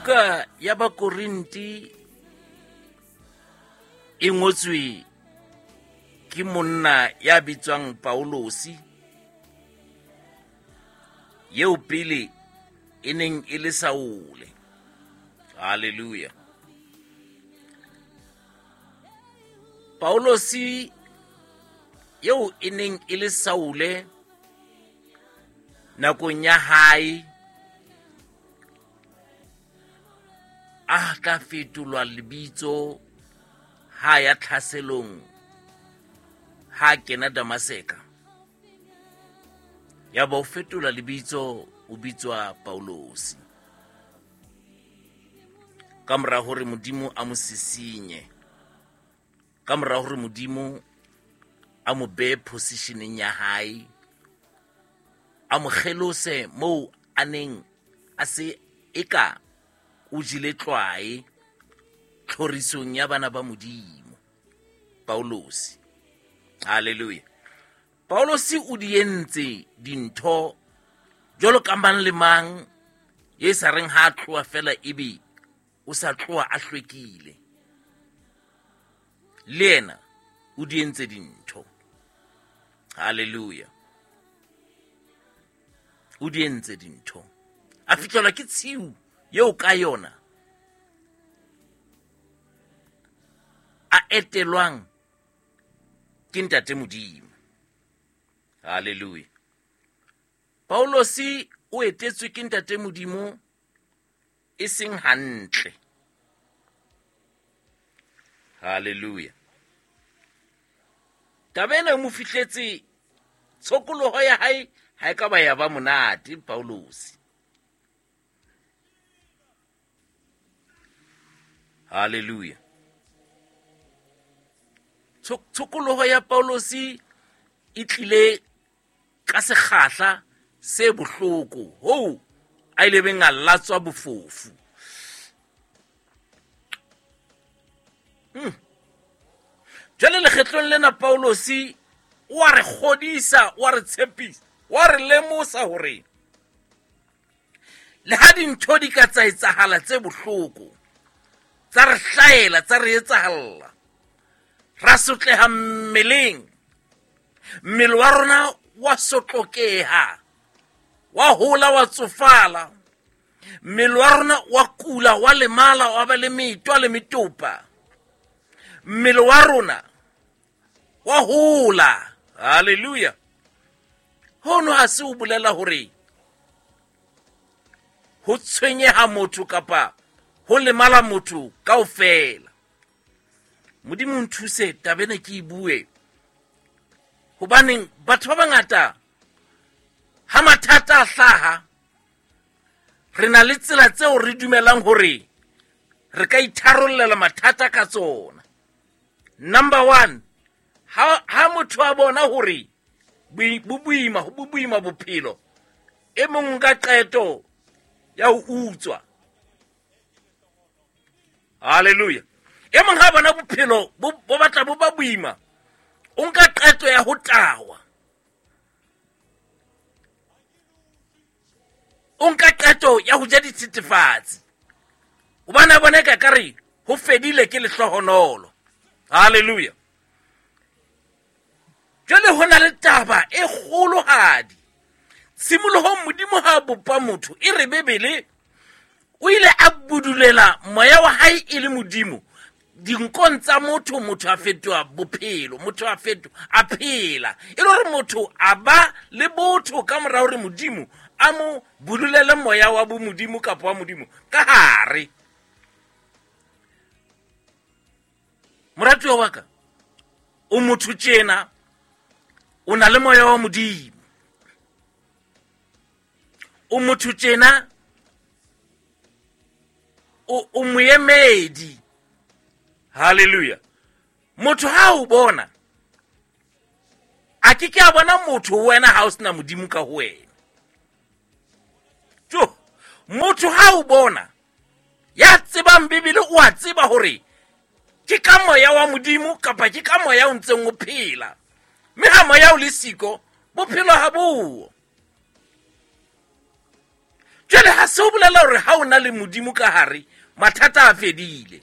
Buka ya Bakorinti e ngotswe ke monna ya bitswang Paulosi, eo pele e neng e le Saule. Hallelujah. Paulosi eo e neng e le Saule nakong ya hae a tla fetolwa lebitso ha ya tlhaselong ha kena Damaseka, ya ba o fetola lebitso o bitswa Paulosi, ka mora hore Modimo a mo sisinye, ka mora hore Modimo a mo behe positioneng ya hae, a mo kgelose moo a neng a se eka o jele tlwae tlhorisong ya bana ba Modimo. Paulosi, hallelujah. Paulosi o di entse dintho jwalo ka mang le mang ye sa reng ha a tloha fela ebe o sa tloha a hlwekile. Le yena o di entse dintho. Hallelujah. O di entse dintho. A fihlelwa ke tshiu eo ka yona a etelwang ke Ntate Modimo. Hallelujah. Paulosi o etetswe ke Ntate Modimo e seng hantle. Hallelujah. Taba ena e mo fihletse, tshokoloho ya hae ha e ka ba ya ba monate Paulosi. Hallelujah. Tshokoloho ya Paulosi e tlile ka sekgahla se bohloko hoo a ile beng a latswa bofofu. Jwale lekgetlong lena Paulosi o a re kgodisa, o a re tshepisa, o a re lemosa hore le ha dintho di ka tsa etsahala tse bohloko, tsa re hlahela, tsa re etsahalla, ra sotleha mmeleng, mmele wa rona wa sotlokeha, wa hola, wa tsofala, mmele wa rona wa kula, wa lemala, wa ba le metwa le metopa, mmele wa rona wa hola. Hallelujah. Hono ha se o bolela hore ho tshwenyeha motho kapa ho lemala motho kaofela. Modimo nthuse taba ena ke e bue, hobaneng batho ba bangata ha mathata a hlaha re na le tsela tseo re dumelang hore re ka itharollela mathata ka tsona. Number one, ha motho a bona hore bo boima bophelo, e mong ka qeto ya ho utswa. Hallelujah. E mong ha bona bophelo bo batla bo ba boima, o nka qeto ya ho tawa. O nka qeto ya ho ja dithethefatsi. Hobane a bona eka kare ho fedile ke lehlohonolo. Hallelujah. Jwale ho na le taba e kgolohadi. Tshimolohong Modimo ha bopa motho, e re Bibele o ile a budulela moya wa hae e le Modimo dinkong tsa motho, motho a fetoha bophelo, motho a fetoha a phela, e le hore motho a ba le botho ka mora hore Modimo a mo budulele moya wa bomodimo kapa wa Modimo ka hare. Moratuwa wa ka, o motho tjena, o na le moya wa Modimo. O motho tjena, o moemedi. Hallelujah. Motho ha o bona, a ke ke a bona motho ho wena ha o sena Modimo ka ho wena. Jo, motho ha o bona, ya tsebang Bibele o a tseba hore ke ka moya wa Modimo kapa ke ka moya o ntseng o phela. Mme ha moya o le siko, bophelo ha bo. Jwale ha se o bolela hore ha o na le Modimo ka hare, mathata a fedile.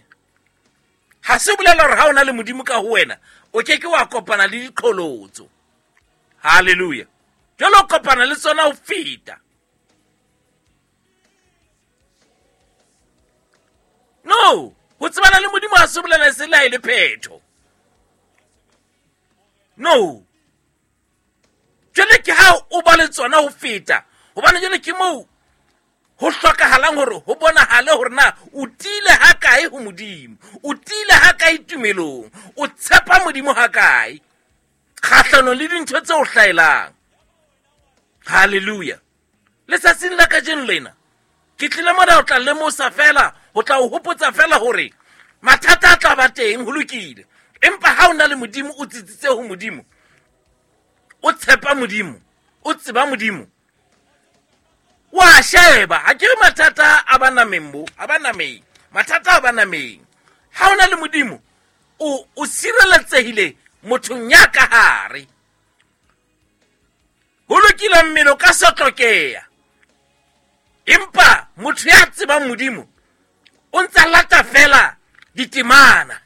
Ha se bolela hore ha o na le Modimo ka ho wena, o ke ke wa kopana le diqholotso. Hallelujah. Jwale o kopana le tsona ho feta. No, ho tsebana le Modimo ha se bolela se le ha e le phetho. No. Jwale ke ha o ba le tsona ho feta, hobane jwale ke moo ho hlokahalang hore ho bonahale hore na o tiile ha kae ho Modimo, o tiile ha kae tumelong, o tshepa Modimo ha kae kgahlanong le dintho tse o hlaelang. Hallelujah. Letsatsing la kajeno lena ke tlile mona ho tla lemosa fela, ho tla o hopotsa fela hore mathata a tla ba teng, ho lokile, empa ha o na le Modimo, o tsitsitse ho Modimo, o tshepa Modimo, o tseba Modimo, wa sheba. Ha ke re mathata a ba nameng bo, a ba nameng, mathata a ba nameng. Ha o na le Modimo, o sireletsehile mothong ya ka hare. Ho lokile, mmele o ka sotlokeha, empa motho ya tsebang Modimo o ntsa lata fela ditemana,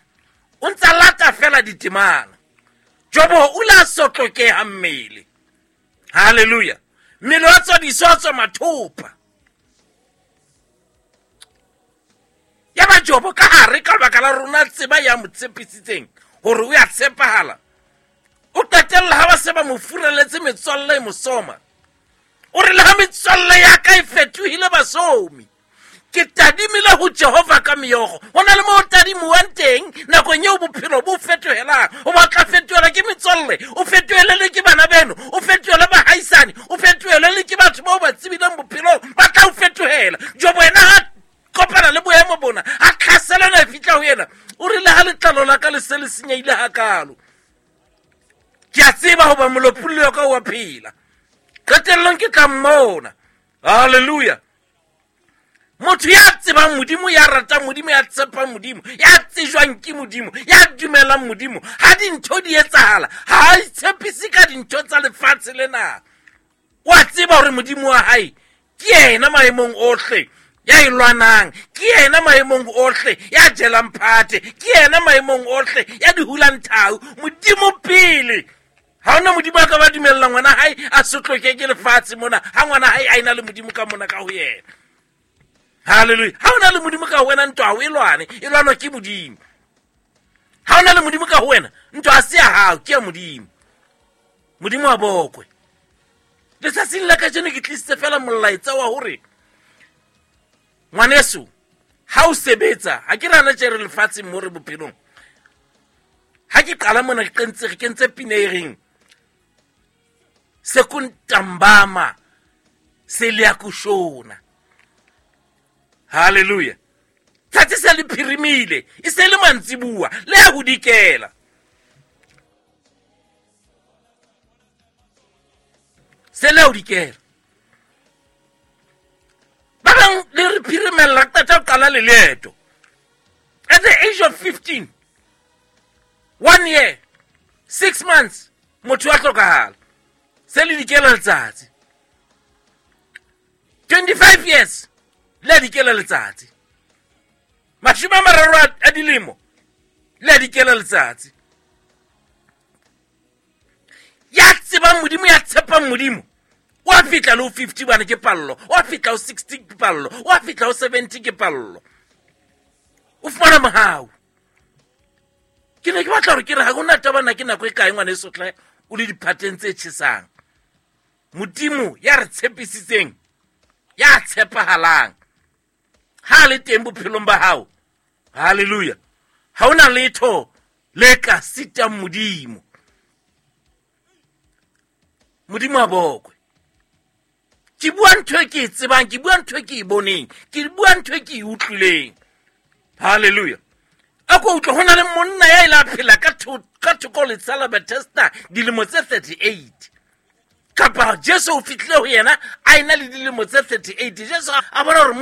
o ntsa lata fela ditemana. Jobo o la sotlokeha mmele. Hallelujah. Mmele wa tswa diso, wa tswa mathopa. Ya ba Jobo ka hare ka lebaka la rona tseba ya mo tshepisitseng hore o ya tshepahala. O qetella ha ba se ba mo furaletse metswalle e mosoma. O re le ha metswalle ya ka e fetohile basomi, ke tadimile ho Jehova ka meokgo. Ho na le moo o tadimuwang teng nakong eo bophelo bo fetohelang. O batla fetohela ke metswalle, o fetohele le ke bana beno, o fetohele bahaisane, o fetohele le ke batho bao ba tsebileng bophelong, ba tla o fetohela. Jobo yena ha kopana le boemo bona, ha tlhaselana e fihla ho yena, o rile ha letlalo la ka le se le senyehile hakalo, ke a tseba hoba molopolli wa ka o a phela, qetellong ke tla mmona. Hallelujah. Motho ya tsebang Modimo, ya ratang Modimo, ya tshepang Modimo, ya tsejwang ke Modimo, ya dumelang Modimo, ha dintho di etsahala, ha a itshepise ka dintho tsa lefatshe lena. O a tseba hore Modimo wa hae ke yena maemong ohle ya e lwanang, ke yena maemong ohle ya jelang phate, ke yena maemong ohle ya di hulang thau. Modimo pele. Ha hona Modimo a ka ba dumella ngwana hae a sotloke ke lefatshe mona, ha ngwana hae a ena le Modimo ka mona ka ho yena. Hallelujah. Ha hona le Modimo ka ho wena, ntwa ha o e lwane, e lwanwa ke Modimo. Ha hona le Modimo ka ho wena, ntwa ha se ya hao, ke ya Modimo. Modimo a bokwe. Letsatsing la kajeno ke tlisitse fela molaetsa wa hore ngwaneso, ha o sebetsa, ha ke rana tje re lefatsheng mo re bophelong. Ha ke qala mona ke kentse, re kentse pina e reng sekuntambama se le ya kushona. Hallelujah. Tsatsi se le phirimile, e se le mantsibuwa, le ya ho dikela. Se le ya ho dikela. Ba bang le re phirimella qeta ho qala le leeto. At the age of 15, 1 year, 6 months, motho wa hlokahala. Se le dikela letsatsi. 25 years, le a dikela letsatsi. Mashome a mararo a dilemo, le a dikela letsatsi. Ya tsebang Modimo, ya tshepang Modimo, o a fihla le ho 50 bana ke pallo, o a fihla ho 60 ke pallo, o a fihla ho 70 ke pallo. O fumana mohau. Ke ne ke batla hore ke re ha hona taba na ke nako e kae ngwaneso hle o le diphateng tse tjhesang. Modimo ya re tshepisitseng, ya tshepahalang, ha le teng bophelong ba hao. Hallelujah. Ha hona letho le ka sitang Modimo. Modimo a bokwe. Ke bua ntho e ke e tsebang, ke bua ntho e ke e boneng, ke bua ntho e ke e utlwileng. Hallelujah. A ko utlwe, ho na le monna ya ile a phela ka thoko letsha la Bethesda dilemo tse 38. Kapa Jesu o fihlile ho yena a ena le dilemo tse 38. Jesu a bona hore